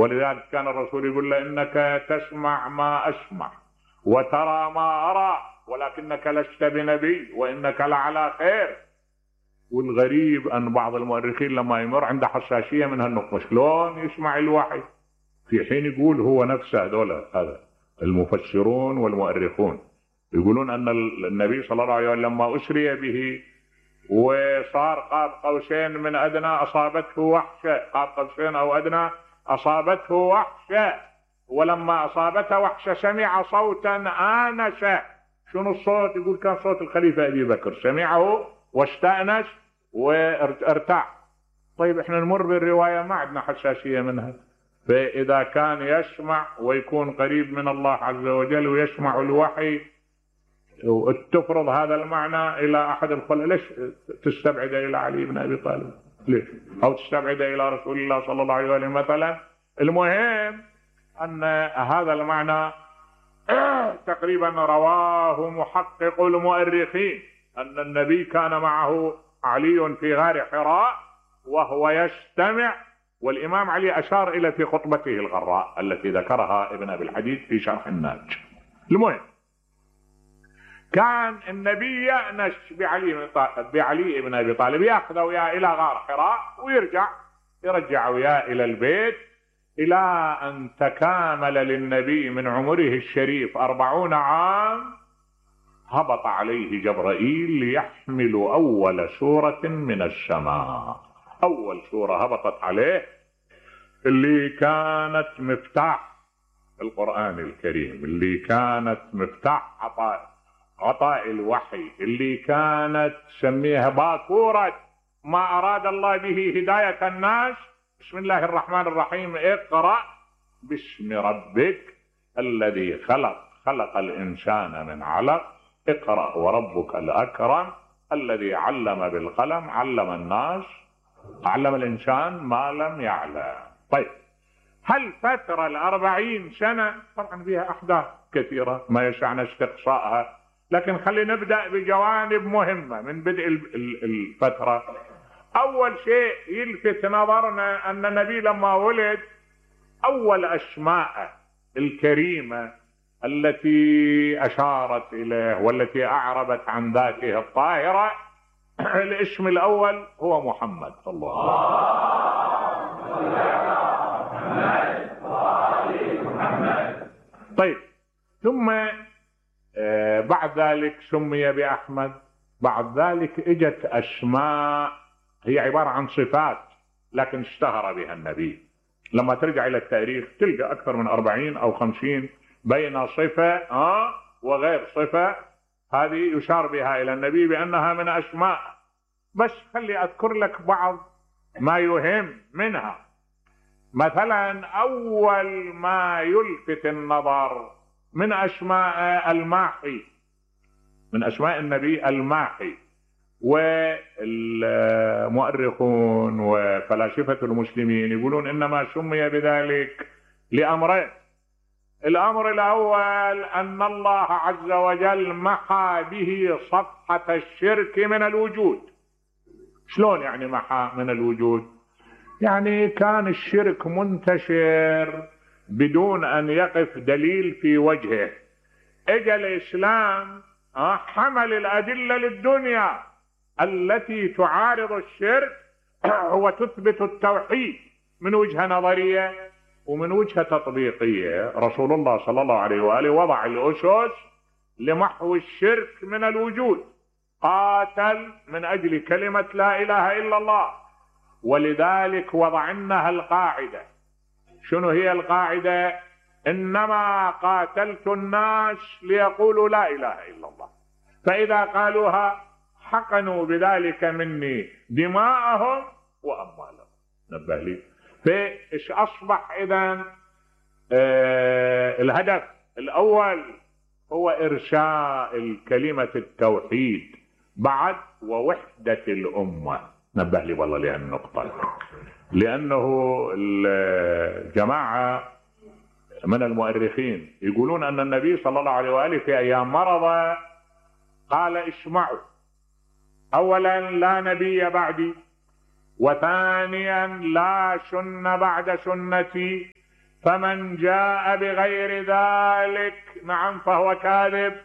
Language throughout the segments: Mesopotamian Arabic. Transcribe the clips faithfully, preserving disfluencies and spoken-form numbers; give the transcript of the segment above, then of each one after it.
ولذلك كان الرسول يقول له انك تسمع ما اسمع وترى ما ارى ولكنك لست بنبي وانك لعلى خير. والغريب ان بعض المؤرخين لما يمر عنده حساسيه من هالنقطه، شلون يسمع الوحي في حين يقول هو نفسه هذول هذا المفسرون والمؤرخون يقولون ان النبي صلى الله عليه وسلم لما اسري به وصار قاب قوسين من ادنى اصابته وحشه، قاب قوسين او ادنى اصابته وحشه، ولما اصابته وحشه سمع صوتا انس. شنو الصوت؟ يقول كان صوت الخليفه ابي بكر، سمعه واستانس وارتاح. طيب احنا نمر بالروايه ما عندنا حساسيه منها، فاذا كان يسمع ويكون قريب من الله عز وجل ويسمع الوحي وتفرض هذا المعنى الى احد الخلفاء، ليش تستبعد الى علي بن ابي طالب؟ ليش؟ او تستبعد الى رسول الله صلى الله عليه وسلم مثلا؟ المهم ان هذا المعنى تقريبا رواه محقق المؤرخين ان النبي كان معه علي في غار حراء وهو يستمع، والامام علي اشار الى في خطبته الغراء التي ذكرها ابن ابي الحديد في شرح الناج. المهم كان النبي يأنس بعلي بعلي بن ابي طالب، ياخذه وياه الى غار حراء ويرجع يرجع وياه الى البيت، الى ان تكامل للنبي من عمره الشريف أربعون عام هبط عليه جبرائيل ليحمل اول سورة من السماء. اول سورة هبطت عليه اللي كانت مفتاح القرآن الكريم، اللي كانت مفتاح عطاء عطاء الوحي، اللي كانت سميها باكورة ما اراد الله به هداية الناس. بسم الله الرحمن الرحيم، اقرأ باسم ربك الذي خلق خلق الانسان من علق، اقرأ وربك الاكرم الذي علم بالقلم علم الناس علم الانسان ما لم يعلم. طيب هالفترة الاربعين سنة طبعا فيها احداث كثيرة ما يسعنا استقصائها، لكن خلينا نبدأ بجوانب مهمة من بدء الفترة. اول شيء يلفت نظرنا ان النبي لما ولد اول اسماء الكريمة التي اشارت اليه والتي اعربت عن ذاته الطاهرة الاسم الاول هو محمد. الله طيب ثم آه بعد ذلك سمي باحمد. بعد ذلك اجت اسماء هي عبارة عن صفات لكن اشتهر بها النبي. لما ترجع الى التاريخ تلقى اكثر من أربعين او خمسين بين صفة آه وغير صفة هذه يشار بها الى النبي بانها من اسماء. بس خلي اذكر لك بعض ما يهم منها. مثلا اول ما يلفت النظر من اسماء الماحي، من اسماء النبي الماحي. والمؤرخون وفلاسفة المسلمين يقولون انما سمي بذلك لامرين. الامر الاول ان الله عز وجل محى به صفحة الشرك من الوجود. شلون يعني محى من الوجود؟ يعني كان الشرك منتشر بدون ان يقف دليل في وجهه. اجى الاسلام حمل الادلة للدنيا التي تعارض الشرك وتثبت التوحيد من وجهة نظرية ومن وجهة تطبيقية. رسول الله صلى الله عليه وآله وضع الأسس لمحو الشرك من الوجود، قاتل من أجل كلمة لا إله إلا الله. ولذلك وضعناها القاعدة. شنو هي القاعدة؟ إنما قاتلت الناس ليقولوا لا إله إلا الله، فإذا قالوها حقنوا بذلك مني دماءهم وأموالهم. نبه لي. فإيش أصبح إذن؟ آه الهدف الأول هو إرساء الكلمة التوحيد بعد ووحدة الأمة. نبه لي والله لهذه النقطة، لأنه الجماعة من المؤرخين يقولون أن النبي صلى الله عليه وآله في أيام مرضه قال اسمعوا، أولا لا نبي بعدي، وثانيا لا سنة بعد سنتي، فمن جاء بغير ذلك نعم فهو كاذب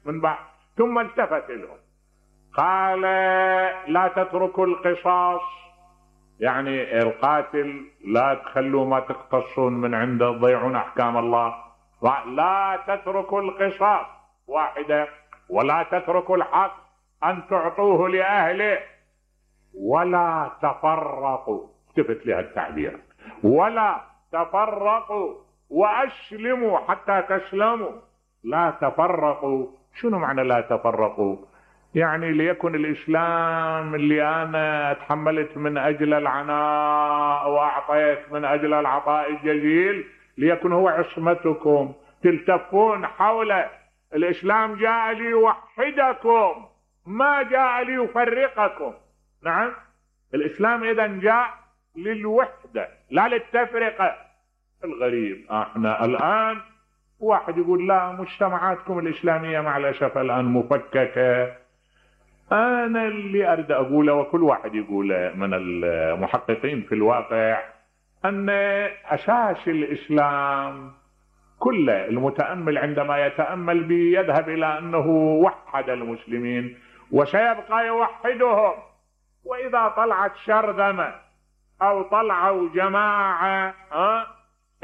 من بعد. ثم التفت لهم قال لا تتركوا القصاص، يعني القاتل لا تخلوا ما تقتصون من عنده تضيعون احكام الله. لا تتركوا القصاص واحدة، ولا تتركوا الحق ان تعطوه لاهله، ولا تفرقوا، التفت لها التعبير، ولا تفرقوا واسلموا حتى تسلموا. لا تفرقوا، شنو معنى لا تفرقوا؟ يعني ليكن الاسلام اللي انا تحملت من اجل العناء واعطيت من اجل العطاء الجزيل ليكن هو عصمتكم، تلتفون حوله. الاسلام جاء ليوحدكم ما جاء ليفرقكم. نعم، الاسلام اذا جاء للوحدة لا للتفرقة. الغريب احنا الان واحد يقول لا مجتمعاتكم الاسلامية مع الاسف الان مفككة. انا اللي اريد اقوله وكل واحد يقوله من المحققين في الواقع ان اساس الاسلام كله المتأمل عندما يتأمل به يذهب الى انه وحد المسلمين وسيبقى يوحدهم. واذا طلعت شرذمة او طلعوا جماعة ها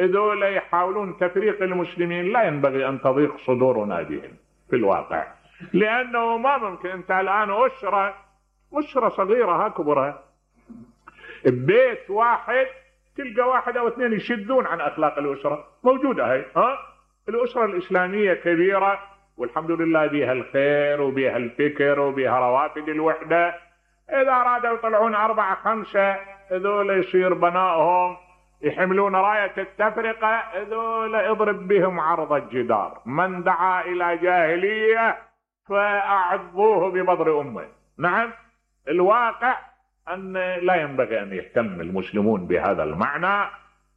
هذول يحاولون تفريق المسلمين، لا ينبغي ان تضيق صدورنا بهم في الواقع، لانه ما ممكن. انت الان اسرة اسرة صغيرة ها كبرها ببيت واحد تلقى واحد او اثنين يشدون عن اخلاق الاسرة، موجودة هاي ها. الاسرة الاسلامية كبيرة والحمد لله بها الخير وبها الفكر وبها روافد الوحدة. اذا ارادوا يطلعون اربعة خمسة هذول يصير بنائهم يحملون راية التفرقة، هذول اضرب بهم عرض الجدار. من دعا الى جاهلية فاعضوه ببضر امه. نعم، الواقع ان لا ينبغي ان يهتم المسلمون بهذا المعنى،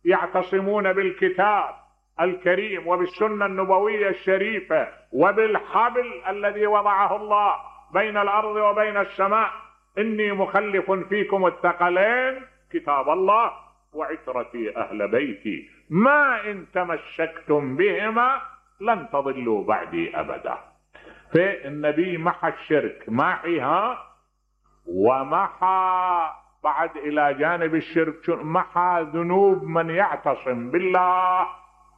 يعتصمون بالكتاب الكريم وبالسنة النبوية الشريفة وبالحبل الذي وضعه الله بين الارض وبين السماء. اني مخلف فيكم الثقلين كتاب الله وعترتي اهل بيتي ما ان تمسكتم بهما لن تضلوا بعدي ابدا. فالنبي محى الشرك محيها، ومحى بعد الى جانب الشرك محى ذنوب من يعتصم بالله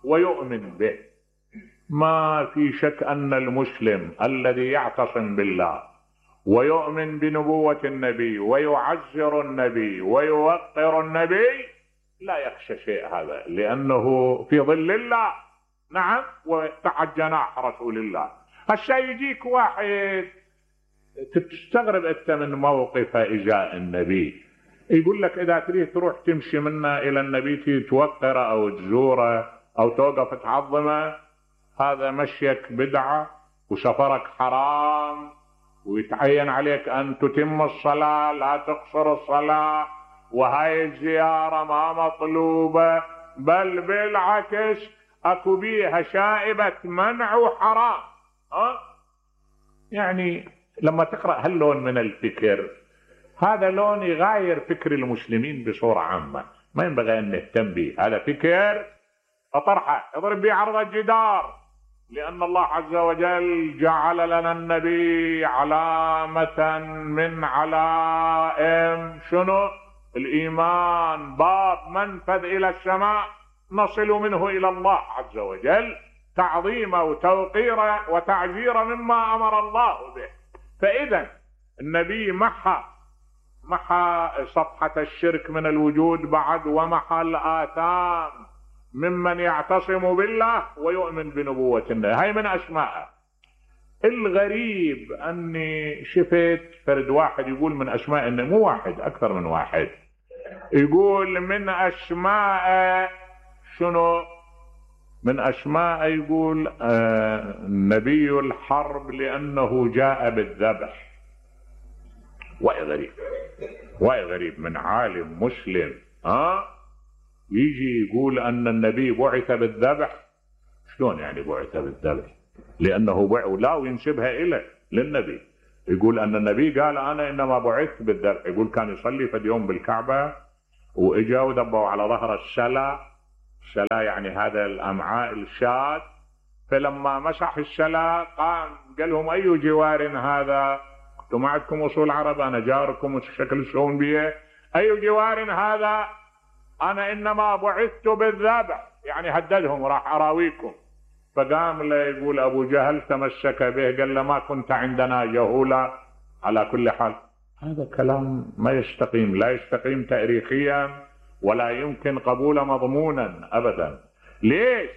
ويؤمن به. ما في شك ان المسلم الذي يعتصم بالله ويؤمن بنبوة النبي ويعزر النبي ويوقر النبي لا يخشى شيء هذا، لأنه في ظل الله. نعم، وتحت جناح رسول الله. هسه يجيك واحد تستغرب انت من موقف إجاء النبي، يقول لك إذا تريد تروح تمشي منا إلى النبي توقره أو تزوره أو توقف تعظمه، هذا مشيك بدعة وسفرك حرام، ويتعين عليك ان تتم الصلاة لا تقصر الصلاة، وهاي الزيارة ما مطلوبة، بل بالعكس اكو بيها شائبة منع وحرام. أه؟ يعني لما تقرأ هاللون من الفكر، هذا لون يغاير فكر المسلمين بصورة عامة، ما ينبغي ان نهتم به. هذا فكر اطرحه اضرب به عرض الجدار، لأن الله عز وجل جعل لنا النبي علامة من علائم شنو؟ الإيمان، باب منفذ إلى السماء نصل منه إلى الله عز وجل، تعظيما وتوقيرا وتعزيرا مما أمر الله به. فإذا النبي محى محى صفحة الشرك من الوجود بعد، ومحى الآثام ممن يعتصم بالله ويؤمن بنبوة النبي. هاي من أسماءه. الغريب أني شفت فرد واحد يقول من أسماء النبي، مو واحد، أكثر من واحد، يقول من أسماء شنو؟ من أسماء يقول آه نبي الحرب لأنه جاء بالذبح. وأي غريب، وأي غريب من عالم مسلم ها أه؟ يجي يقول ان النبي بعث بالذبح. شلون يعني بعث بالذبح؟ لانه بعث لا وينسبها اليه للنبي، يقول ان النبي قال انا انما بعثت بالذبح. يقول كان يصلي في اليوم بالكعبه واجا ودبوا على ظهر السلا، الشلا يعني هذا الأمعاء الشاة. فلما مسح الشلا قام قال لهم أي جوار هذا؟ انتم ما عندكم أصول عرب، أنا جاركم وشكل شلون بيه. أي جوار هذا؟ أنا إنما بعثت بالذبح، يعني هددهم راح أراويكم. فقام له يقول أبو جهل تمسك به قال له ما كنت عندنا جهولا. على كل حال هذا كلام ما يستقيم، لا يستقيم تاريخيا ولا يمكن قبوله مضمونا أبدا. ليش؟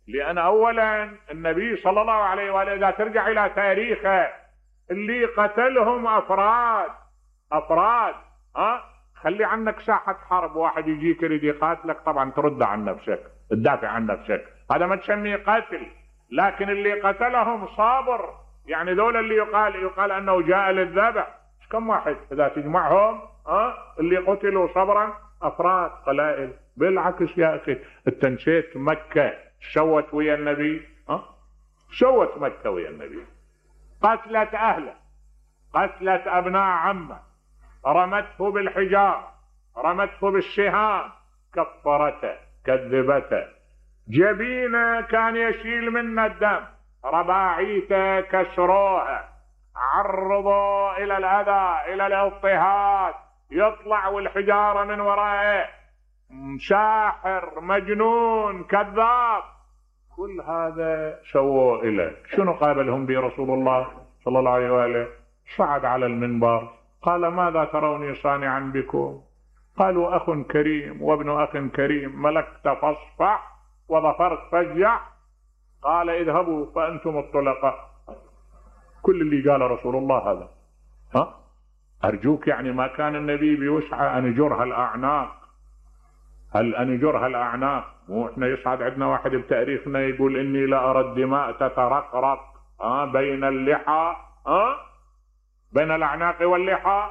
لأن أولا النبي صلى الله عليه وآله إذا ترجع إلى تاريخه اللي قتلهم أفراد أفراد ها خلي عنك ساحة حرب، واحد يجيك يريد يقاتلك طبعا ترد عن نفسك، تدافع عن نفسك، هذا ما تسميه قتل. لكن اللي قتلهم صابر، يعني دول اللي يقال يقال أنه جاء للذبح، كم واحد إذا تجمعهم ها اللي قتلوا صبرا أفراد قلائل. بالعكس يا أخي انت نسيت مكة سوت ويا النبي؟ ها سوت مكة ويا النبي، قتلت أهله، قتلت أبناء عمه، رمته بالحجار، رمته بالسهام، كفرته، كذبته، جبينه كان يشيل منه الدم، رباعيته كسروها، عرضوا إلى الأذى إلى الاضطهاد، يطلع والحجارة من ورائه، ساحر مجنون كذاب، كل هذا سووا إليه. شنو قابلهم به رسول الله صلى الله عليه وآله؟ صعد على المنبر قال ماذا تروني صانعا بكم؟ قالوا أخ كريم وابن أخ كريم، ملكت فاصفح وظفرت فاجع. قال اذهبوا فأنتم الطلقاء. كل اللي قال رسول الله هذا. ها أرجوك يعني ما كان النبي بيسعى أن يجرها الأعناق، هل أن يجرها الأعناق؟ مو إحنا يصعد عندنا واحد بتاريخنا يقول إني لا أرى الدماء تترقرق ها بين اللحى ها بين الأعناق واللحى.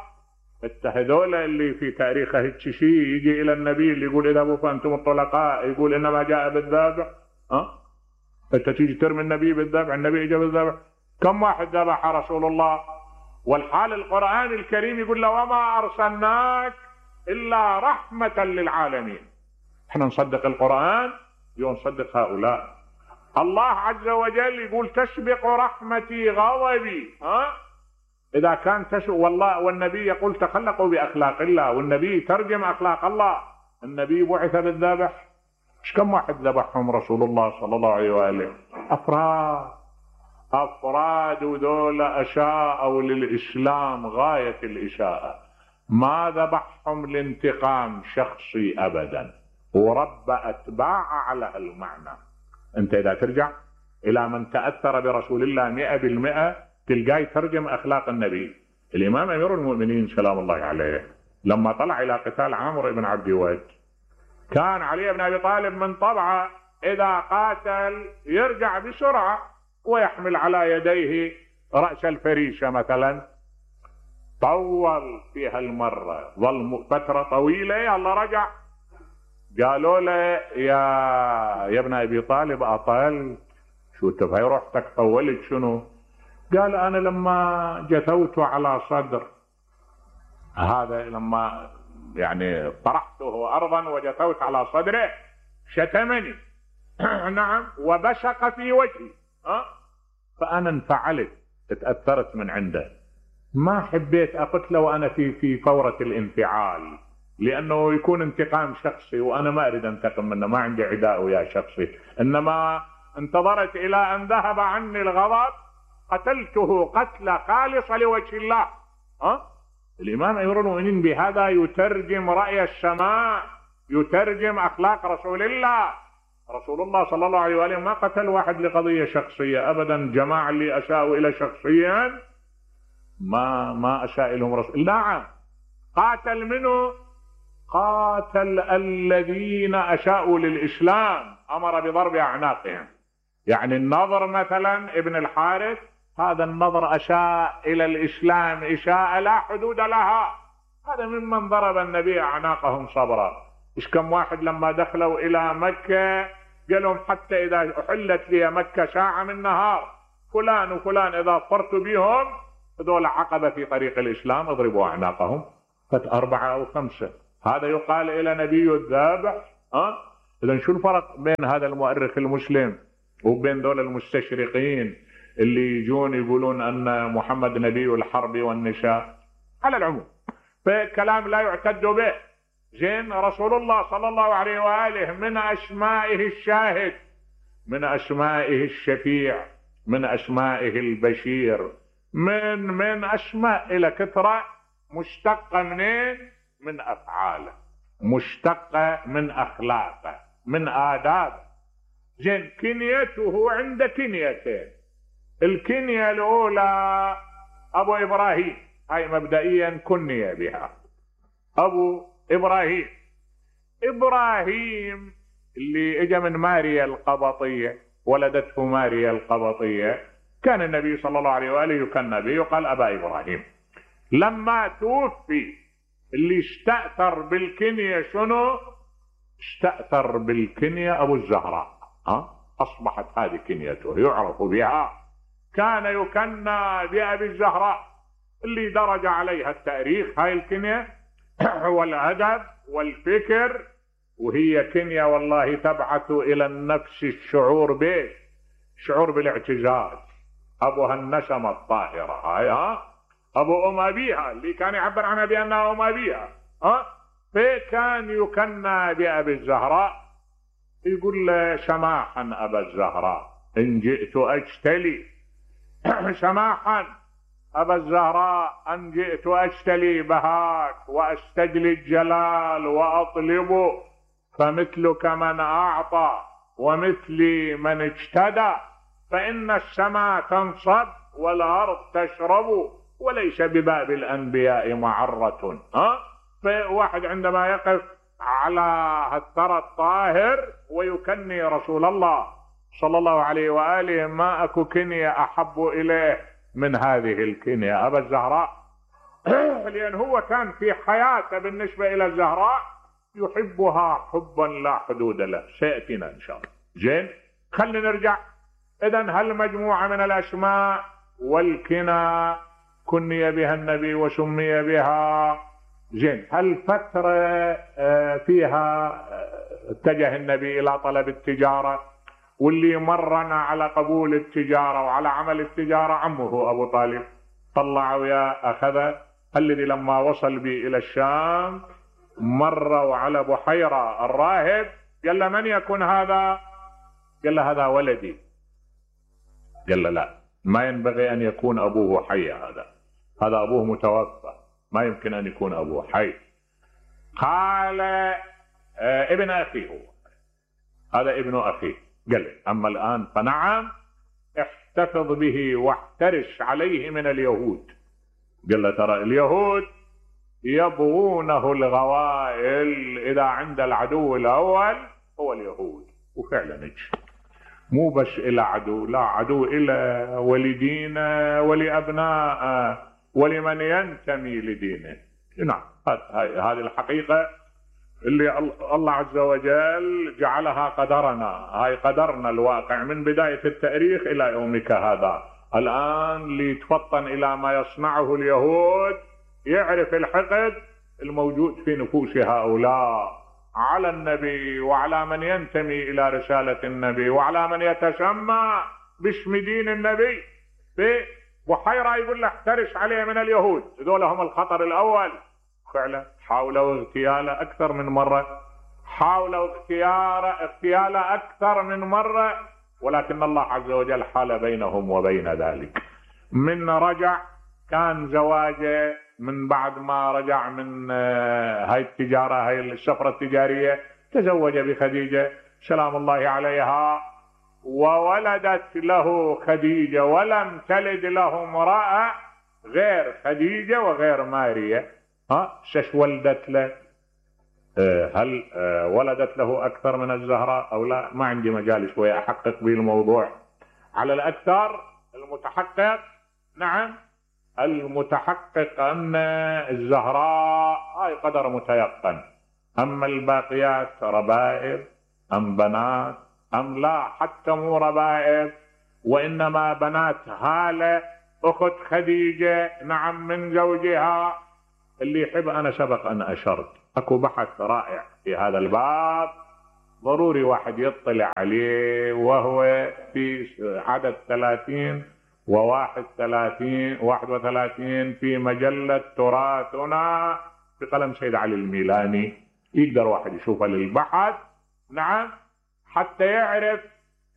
هذول اللي في تاريخه هيك شيء يجي إلى النبي اللي يقول اذهبوا فأنتم الطلقاء، يقول إنما جاء بالذبح. ها أنت تيجي ترمي النبي بالذبح، النبي إجا بالذبح. كم واحد ذبح رسول الله؟ والحال القرآن الكريم يقول له وما أرسلناك إلا رحمة للعالمين. احنا نصدق القرآن ونصدق هؤلاء. الله عز وجل يقول تسبق رحمتي غضبي. ها إذا كان تسبق والله، والنبي يقول تخلقوا بأخلاق الله، والنبي ترجم أخلاق الله. النبي بعث بالذبح، ايش كم واحد ذبحهم رسول الله صلى الله عليه وآله؟ أفراد أفراد وذول أشاءوا للإسلام غاية الإشاءة، ما ذبحهم لانتقام شخصي أبدا، ورب أتباع على المعنى. أنت إذا ترجع إلى من تأثر برسول الله مئة بالمئة تلقاه يترجم أخلاق النبي. الإمام أمير المؤمنين سلام الله عليه لما طلع إلى قتال عامر بن عبد ود كان علي بن أبي طالب من طبعه إذا قاتل يرجع بسرعة ويحمل على يديه رأس الفريشة مثلا، طول فيها المرة، ظل فترة طويلة، يلا رجع. قالوا له يا يا ابن أبي طالب أطلت، شو تفهي روحتك طولت شنو؟ قال أنا لما جثوت على صدر هذا، لما يعني طرحته أرضا وجثوت على صدره شتمني نعم وبشق في وجهي، أه؟ فأنا انفعلت، اتأثرت من عنده، ما حبيت أقتله وأنا في في فورة الانفعال، لأنه يكون انتقام شخصي وأنا ما أريد أنتقم منه، ما عندي عداء ويا شخصي، إنما انتظرت إلى أن ذهب عني الغضب قتلته قتلة خالصة لوجه الله. أه؟ الإمام أمير المؤمنين بهذا يترجم رأي السماء، يترجم أخلاق رسول الله. رسول الله صلى الله عليه وآله ما قتل واحد لقضية شخصية أبدا. جماعة اللي أساءوا إلى شخصيا ما ما أساء لهم رسول. نعم قاتل منه، قاتل الذين أساءوا للإسلام، أمر بضرب أعناقهم. يعني النضر مثلا ابن الحارث، هذا النضر أساء إلى الإسلام إساءة لا حدود لها، هذا ممن ضرب النبي أعناقهم صبرا. إيش كم واحد لما دخلوا إلى مكة قال لهم حتى إذا أحلت لي مكة ساعة من نهار فلان وفلان إذا صرت بهم هذول عقبة في طريق الإسلام اضربوا أعناقهم. فت أربعة أو خمسة، هذا يقال إلى نبي الذابح. أه؟ إذن شو الفرق بين هذا المؤرخ المسلم وبين دول المستشرقين اللي يجون يقولون أن محمد نبي الحرب والنساء؟ على العموم فكلام لا يعتد به. زين، رسول الله صلى الله عليه وآله من أسمائه الشاهد، من أسمائه الشفيع، من أسمائه البشير، من من أسماء إلى كثرة، مشتقة منين؟ من أفعاله، مشتقة من أخلاقه، من آدابه. زين، كنيته عند كنيتين. الكنية الأولى أبو إبراهيم، هاي مبدئيا كنية بها أبو إبراهيم. إبراهيم اللي اجى من ماريا القبطية، ولدته ماريا القبطية، كان النبي صلى الله عليه وآله يكنى به يقال أبا إبراهيم. لما توفي اللي استأثر بالكنية شنو؟ استأثر بالكنية أبو الزهراء، ها؟ أصبحت هذه كنيته يعرف بها. كان يكنى بأبي الزهراء اللي درج عليها التاريخ، هاي الكنية والأدب والفكر، وهي كنية والله تبعث إلى النفس الشعور به، شعور بالاعتزاز. أبوها النسمة الطاهرة، هاي ها أبو أم أبيها اللي كان يعبر عنها بأنها أم أبيها، ها فكان يكنى بأبي الزهراء. يقول له سماحا أبا الزهراء إن جئت أجتلي سماحا أبا الزهراء أن جئت أجتلي بهاك وأستجلي الجلال وأطلب، فمثلك من أعطى ومثلي من اجتدى، فإن السماء تنصب والأرض تشرب، وليس بباب الأنبياء معرة. ها فواحد عندما يقف على الثرى الطاهر ويكني رسول الله صلى الله عليه وآله، ما أكو كنية أحب إليه من هذه الكنية أبا الزهراء. لأن هو كان في حياته بالنسبة إلى الزهراء يحبها حبا لا حدود له، سيأتينا إن شاء الله. زين، خلينا نرجع. إذن هالمجموعة من الأسماء والكنى كني بها النبي وسمي بها. زين، هالفترة فيها اتجه النبي إلى طلب التجارة، واللي مرنا على قبول التجارة وعلى عمل التجارة عمه أبو طالب، طلع ويا أخذه. الذي لما وصل بي إلى الشام مروا على بحيرة الراهب، قال له من يكون هذا؟ قال له هذا ولدي. قال له لا، ما ينبغي أن يكون أبوه حي، هذا هذا أبوه متوفى، ما يمكن أن يكون أبوه حي. قال آه ابن أخي هو، هذا ابن أخي. قال أما الآن فنعم، احتفظ به واحترس عليه من اليهود. قال له ترى اليهود يبغونه الغوائل، إذا عند العدو الأول هو اليهود. وفعلا اجى، مو بس إلى عدو، لا عدو إلى ولدينا ولأبناء ولمن ينتمي لدينه. نعم، هذه الحقيقة اللي الله عز وجل جعلها قدرنا، هاي قدرنا الواقع من بداية التاريخ إلى يومك هذا. الآن ليتفطن إلى ما يصنعه اليهود، يعرف الحقد الموجود في نفوس هؤلاء على النبي وعلى من ينتمي إلى رسالة النبي وعلى من يتسمى باسم دين النبي. في بحيرة يقول له احترس عليه من اليهود، هذول هم الخطر الأول. فعلا حاولوا اغتياله أكثر من مرة، حاولوا اغتياله اغتياله أكثر من مرة، ولكن الله عز وجل حال بينهم وبين ذلك. من رجع كان زواجه من بعد ما رجع من هاي التجارة، هاي السفرة التجارية، تزوج بخديجة سلام الله عليها، وولدت له خديجة، ولم تلد له امرأة غير خديجة وغير ماريا. ها شش ولدت له؟ هل ولدت له أكثر من الزهراء أو لا؟ ما عندي مجال شوية أحقق به الموضوع. على الأكثر المتحقق، نعم المتحقق أن الزهراء هاي قدر متيقن. أما الباقيات ربائب أم بنات أم لا، حتى مو ربائب وإنما بنات هالة أخت خديجة، نعم من زوجها. اللي يحب، أنا سبق أن أشرت أكو بحث رائع في هذا الباب، ضروري واحد يطلع عليه، وهو في عدد ثلاثين وواحد ثلاثين واحد وثلاثين في مجلة تراثنا بقلم سيد علي الميلاني. يقدر واحد يشوفها للبحث، نعم، حتى يعرف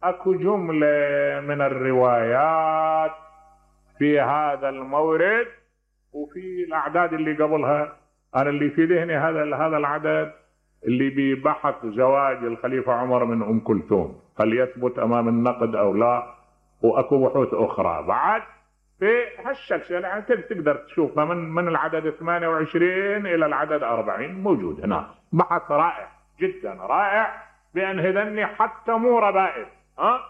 اكو جملة من الروايات في هذا المورد وفي الاعداد اللي قبلها. انا اللي في ذهني هذا هذا العدد اللي ببحث زواج الخليفة عمر من ام كلثوم، هل يثبت امام النقد او لا، واكو بحوث اخرى بعد في هالشكل. يعني تقدر تشوفها من من العدد ثمانية وعشرين الى العدد أربعين موجود هناك. بحث رائع جدا رائع، بان هذني حتى مو ربائل. ها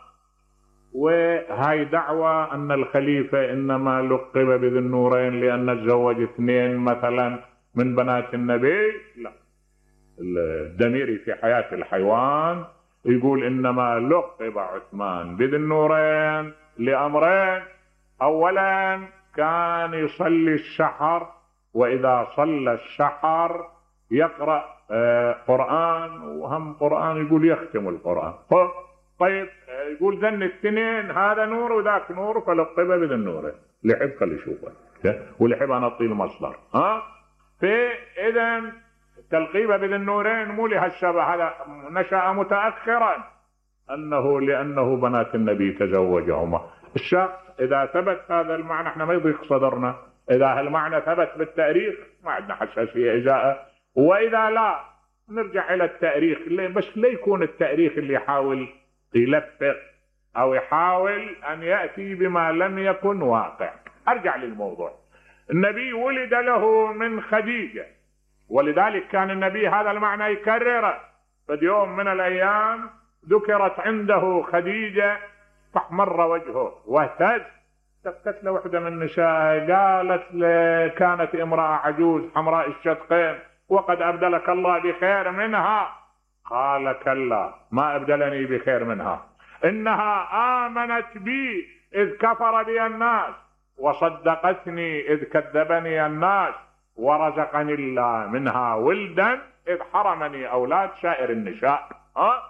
وهاي دعوة ان الخليفة انما لقب بذي النورين لان تزوج اثنين مثلا من بنات النبي. لا، الدميري في حياة الحيوان يقول انما لقب عثمان بذي النورين لامرين: اولا كان يصلي الشحر، واذا صلى الشحر يقرأ قرآن، وهم قرآن يقول يختم القرآن. طيب يقول ذن الاثنين هذا نور وذاك نور فلقب بذي النورين. اللي يحب خلي يشوفه، واللي يحب انا اعطيه المصدر. ها فاذا تلقيبه بذي النورين مو لهالشبه، هذا نشأ متأخرا، انه لانه بنات النبي تزوجهما. الشخص اذا ثبت هذا المعنى احنا ما يضيق صدرنا، اذا هالمعنى ثبت بالتاريخ ما عندنا حساسية ازاءه، واذا لا نرجع الى التاريخ. بس لا يكون التاريخ اللي يحاول يلفق او يحاول ان يأتي بما لم يكن واقع. ارجع للموضوع. النبي ولد له من خديجة، ولذلك كان النبي هذا المعنى يكرره. فد يوم من الايام ذكرت عنده خديجة فاحمر وجهه واهتز. سكتت له وحدة من النساء قالت له: كانت امرأة عجوز حمراء الشدقين وقد ابدلك الله بخير منها. قال: كلا، ما ابدلني بخير منها، انها امنت بي اذ كفر بي الناس، وصدقتني اذ كذبني الناس، ورزقني الله منها ولدا اذ حرمني اولاد سائر النساء. ها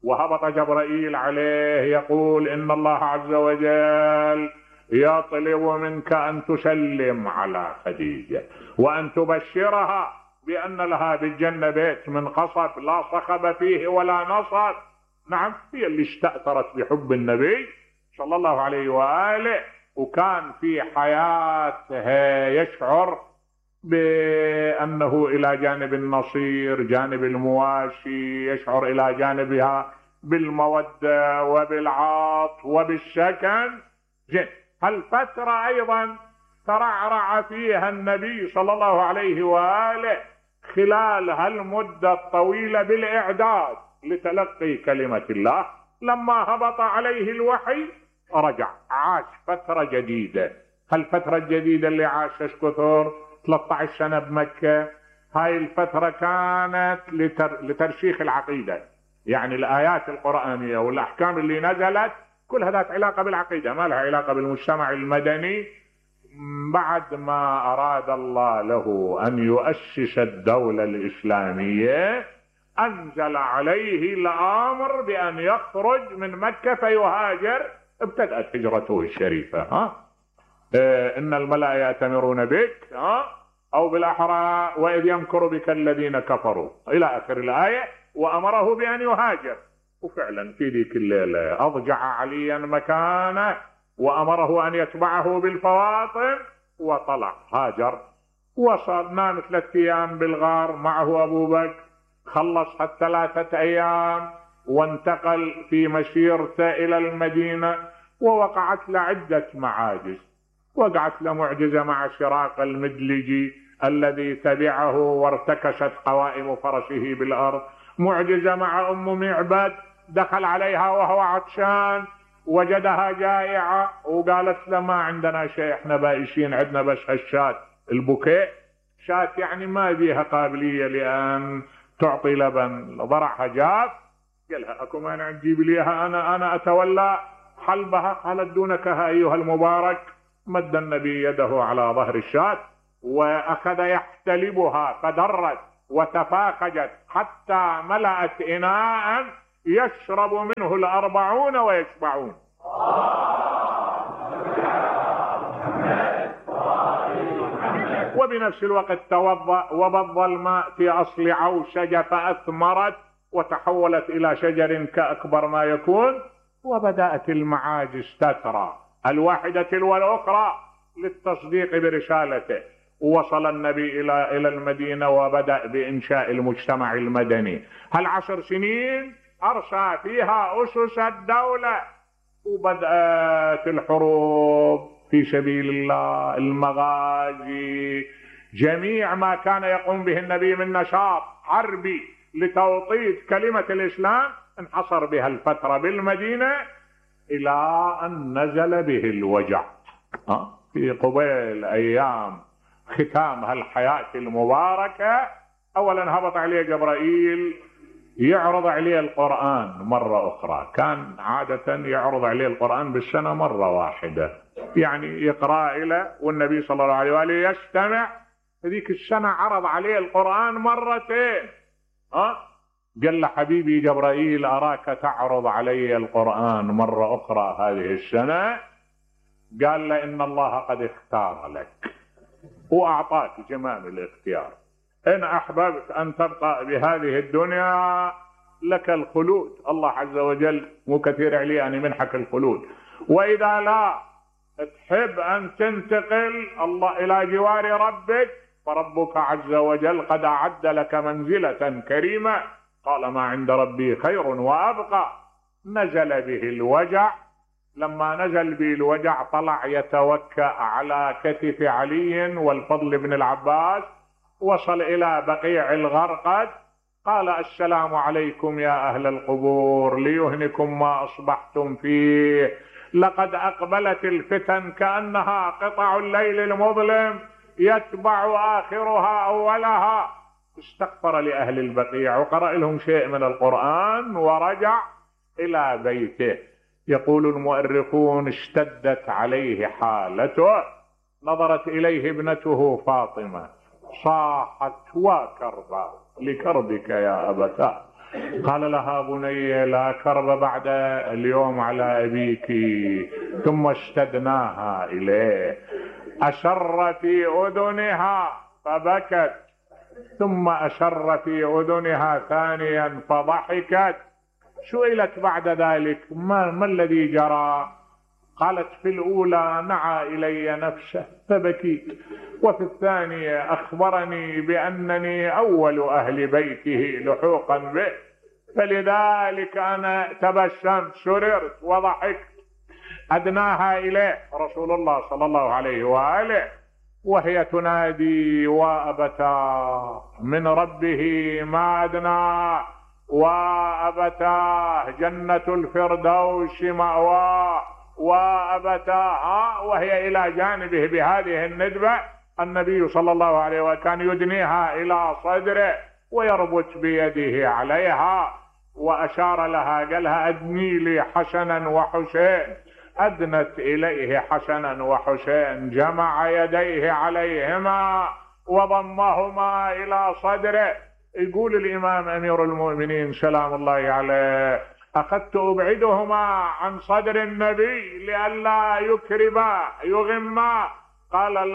وهبط جبرائيل عليه يقول: ان الله عز وجل يطلب منك ان تسلم على خديجة وان تبشرها بان لها بالجنة بيت من قصب لا صخب فيه ولا نصب. نعم، هي اللي استأثرت بحب النبي صلى الله عليه وآله، وكان في حياتها يشعر بأنه إلى جانب النصير جانب المواشي، يشعر إلى جانبها بالمودة وبالعاطف وبالسكن. زين، هالفترة أيضا ترعرع فيها النبي صلى الله عليه وآله خلال هالمدة الطويلة بالإعداد لتلقي كلمة الله. لما هبط عليه الوحي رجع عاش فترة جديدة. هالفترة الجديدة اللي عاشها كثر ثلاثة عشر سنة بمكة. هاي الفترة كانت لتر... لترسيخ العقيدة، يعني الآيات القرآنية والأحكام اللي نزلت كلها ذات علاقة بالعقيدة، ما لها علاقة بالمجتمع المدني. بعد ما أراد الله له أن يؤسس الدولة الإسلامية أنزل عليه الأمر بأن يخرج من مكة فيهاجر. ابتدأت هجرته الشريفة. ها إيه إن الملأ يأتمرون بك، ها أو بالأحرى وإذ يمكر بك الذين كفروا إلى آخر الآية، وأمره بأن يهاجر. وفعلا في ذيك الليلة أضجع عليا مكانه وأمره أن يتبعه بالفواطن، وطلع هاجر. وصل نام ثلاثة أيام بالغار معه أبو بكر، خلص الثلاثة أيام وانتقل في مسيرته إلى المدينة. ووقعت له عدة معاجز. وقعت له معجزة مع شراق المدلجي الذي تبعه وارتكست قوائم فرسه بالأرض. معجزة مع أم معبد، دخل عليها وهو عطشان وجدها جائعة وقالت له: ما عندنا شيء، احنا بائسين، عندنا بس هالشات البكاء. شات يعني ما بيها قابلية لأن تعطي لبن، ضرعها جاف. قالها: اكو مانع تجيب ليها، انا انا اتولى حلبها. قالت: دونك ايها المبارك. مد النبي يده على ظهر الشاة واخذ يحتلبها، فدرت وتفاخجت حتى ملأت إناء يشرب منه الأربعون ويشبعون. وبنفس الوقت توضأ وبض الماء في أصل عوشجة فأثمرت وتحولت إلى شجر كأكبر ما يكون، وبدأت المعاجز تترى الواحدة تلو الأخرى للتصديق برسالته. ووصل النبي إلى إلى المدينة وبدأ بإنشاء المجتمع المدني. هالعشر سنين أرسى فيها أسس الدولة، وبدأت الحروب في سبيل الله، المغازي، جميع ما كان يقوم به النبي من نشاط حربي لتوطيد كلمة الإسلام انحصر بها الفترة بالمدينة إلى أن نزل به الوجع. في قبيل أيام ختام هالحياة المباركة أولا هبط عليه جبرائيل يعرض عليه القرآن مرة أخرى. كان عادة يعرض عليه القرآن بالسنة مرة واحدة، يعني يقرأ إلى والنبي صلى الله عليه وآله يستمع. هذيك السنة عرض عليه القرآن مرتين. أه؟ قال له حبيبي جبرائيل أراك تعرض علي القرآن مرة أخرى هذه السنة. قال له إن الله قد اختار لك وأعطاك جمال الاختيار، إن أحببت أن تبقى بهذه الدنيا لك الخلود، الله عز وجل مو كثير عليه أن يمنحك الخلود، وإذا لا تحب أن تنتقل الله إلى جوار ربك فربك عز وجل قد أعد لك منزلة كريمة. قال ما عند ربي خير وأبقى. نزل به الوجع. لما نزل به الوجع طلع يتوكأ على كتف علي والفضل بن العباس. وصل إلى بقيع الغرقد قال السلام عليكم يا أهل القبور، ليهنكم ما أصبحتم فيه، لقد أقبلت الفتن كأنها قطع الليل المظلم يتبع آخرها أولها. استغفر لأهل البقيع وقرأ لهم شيء من القرآن ورجع إلى بيته. يقول المؤرخون اشتدت عليه حالته. نظرت إليه ابنته فاطمة صاحت وكربا لكربك يا أبتاه. قال لها بني لا كرب بعد اليوم على أبيك. ثم اشتدناها إليه. أشر في أذنها فبكت، ثم أشر في أذنها ثانيا فضحكت. سئلت بعد ذلك ما, ما الذي جرى؟ قالت في الأولى نعى إلي نفسه فبكيت، وفي الثانية أخبرني بأنني أول أهل بيته لحوقا به، فلذلك أنا تبسمت سررت وضحكت. أدناها إليه رسول الله صلى الله عليه وآله وهي تنادي وأبتاه من ربه ما أدناه، وأبتاه جنة الفردوس مأواه، وأبتاه، وهي إلى جانبه بهذه الندبة. النبي صلى الله عليه وسلم كان يدنيها إلى صدره ويربط بيده عليها وأشار لها قالها أدني لي حسنا وحسين. أدنت إليه حسنا وحسين، جمع يديه عليهما وضمهما إلى صدره. يقول الإمام أمير المؤمنين سلام الله عليه أخذت أبعدهما عن صدر النبي لئلا يكربا يغما. قال